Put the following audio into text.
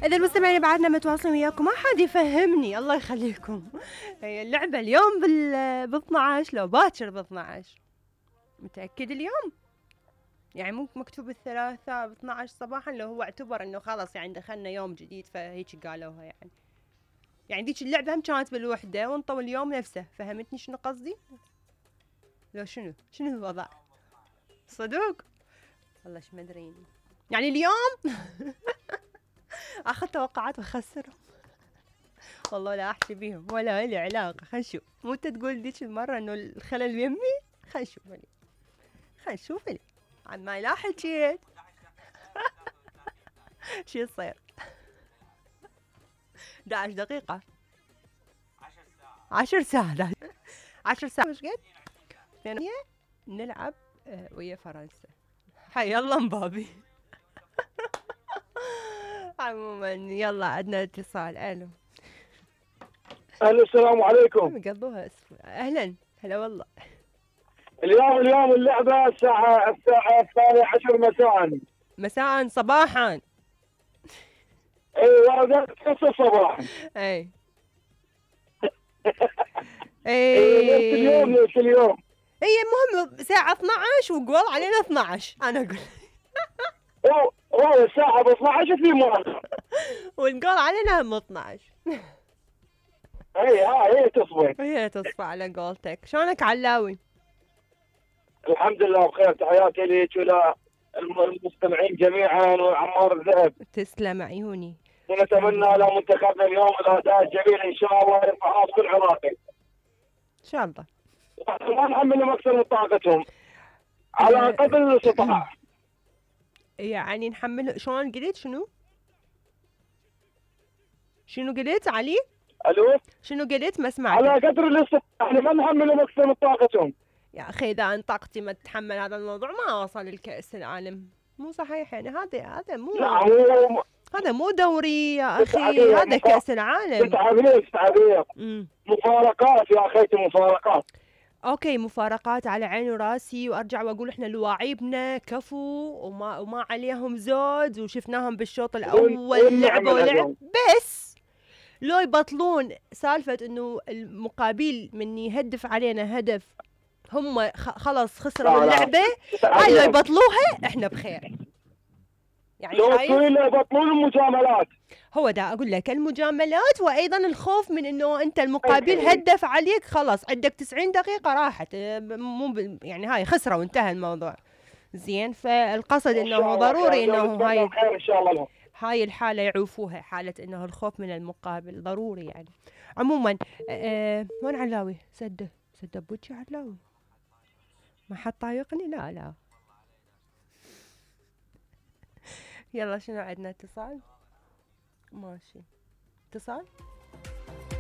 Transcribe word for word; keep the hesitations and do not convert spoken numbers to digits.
إذا المستمعين بعدنا متواصلين وياكم ما حد يفهمني الله يخليكم. هي اللعبة اليوم بال ب اثنعش لو باكر ب اثنعش. متأكد اليوم؟ يعني مو مكتوب الثلاثاء ب اثنعش صباحا لو هو اعتبر انه خلاص يعني دخلنا يوم جديد فهيك قالوها يعني. يعني ذيك اللعبة هم كانت بالوحدة وانطوا اليوم نفسه، فهمتني شنو قصدي؟ لو شنو؟ شنو الوضع؟ صدوق؟ والله ايش مدريني. يعني اليوم اخذ توقعات واخسرهم. والله لا احكي بيهم ولا لي علاقة. خل نشوف. مو انت تقول ذيك المرة انه الخلل يمي؟ خل نشوف لي. خل نشوف لي. عن ما لا حكيت. شو يصير؟ احد عشر دقيقة. عشر ساعات. عشر ساعات مش قد؟ ثانية نلعب ويا فرنسا. حي الله مبابي. عموما يلا عندنا اتصال. الو. الو السلام عليكم. قضوها اسف. اهلا هلا والله. اليوم اليوم اللعبة الساعة الساعة الثانية عشر مساء. مساء صباحا. اي ورقة خمسة صباحا. اي. اي اليوم نفس اليوم. هي المهم ساعة اثنعش وقول علينا اثنعش. انا اقول هو هو الساعة ب اثنعش في مؤخر. والقول علينا هم اثنعش. اي ها هي تصفى. هي تصفى على قولتك. شلونك علاوي؟ الحمد لله بخير. تحياتي لك ولا المستمعين جميعا وعمار الذهب. تسلم عيوني. ونتمنى لمنتخبنا اليوم الاداء الجميل ان شاء الله يرفع راس كل عراقي. ان شاء الله. ما نحملهم اكثر من طاقتهم على قدر الاستطاعة. يعني نحمل. شلون قلت شنو؟ شنو قلت علي؟ الو. شنو قلت ما سمعت؟ على قدر الاستطاعة. احنا ما نحملهم اكثر من طاقتهم. يا اخي اذا ان طاقتي ما تتحمل هذا الموضوع ما اوصل للكأس العالم. مو صحيح يعني. هذا هذا مو لا هو هذا مو دوري يا اخي. هذا كأس العالم. تعبير تعبير مفارقات يا اخيتي مفارقات. اوكي مفارقات على عيني وراسي. وارجع واقول احنا لواعيبنا كفو وما وما عليهم زود وشفناهم بالشوط الاول لعبوا ولعب. بس لو يبطلون سالفة انه المقابل من يهدف علينا هدف هم خلص خسروا اللعبة. هاي لو يبطلوها احنا بخير. يعني لو يبطلون المجاملات. هو دا اقول لك المجاملات وايضا الخوف من انه انت المقابل هدف عليك خلاص عندك تسعين دقيقة راحت. مو يعني هاي خسروا وانتهى الموضوع. زين فالقصد انه ضروري انه هاي ان شاء الله لهم. هاي الحالة يعوفوها. حالة انه الخوف من المقابل ضروري يعني. عموما أه وين علاوي؟ سده سده بوجي علاوي. ما حد طايقني. لا لا. يلا شنو عندنا؟ اتصال. ماشي اتصال.